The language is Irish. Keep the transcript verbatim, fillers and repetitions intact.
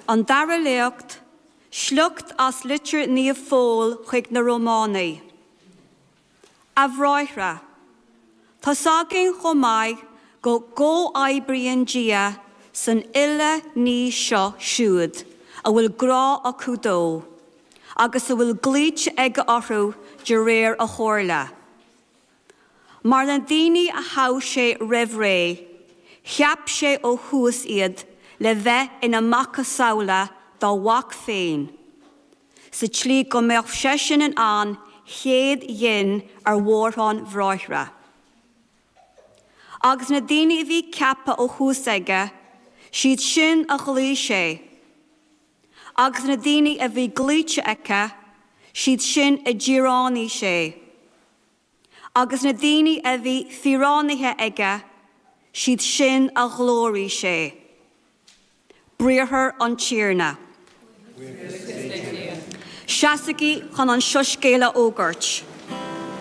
An Dara Léacht, sliocht as Litir Naomh Phóil chuig na Rómánaigh. A bhráithre, tá's againn chomh maith go gcomhoibríonn Dia san uile ní seo siúd a bhfuil grá acu dó, agus a bhfuil glaoite aige orthu de réir a chomhairle. Mar na daoine a thogh sé roimh ré, cheap sé ó thús iad le bheith ina macasamhla dá mhac féin, sa tslí go mbeadh seisean ina an chéad ghin ar mhórán bhráithre. Agus na daoine a bhí ceaptha ó thús aige, siad sin a ghlaoigh sé. Agus na daoine a bhí glaoite aige, siad sin a d'fhíréanaigh sé. Agus na daoine a bhí fíréanaithe aige, siad sin a ghlóirigh sé. Briathar an Tiarna. Seasaigí chun an soiscéal a fhógairt.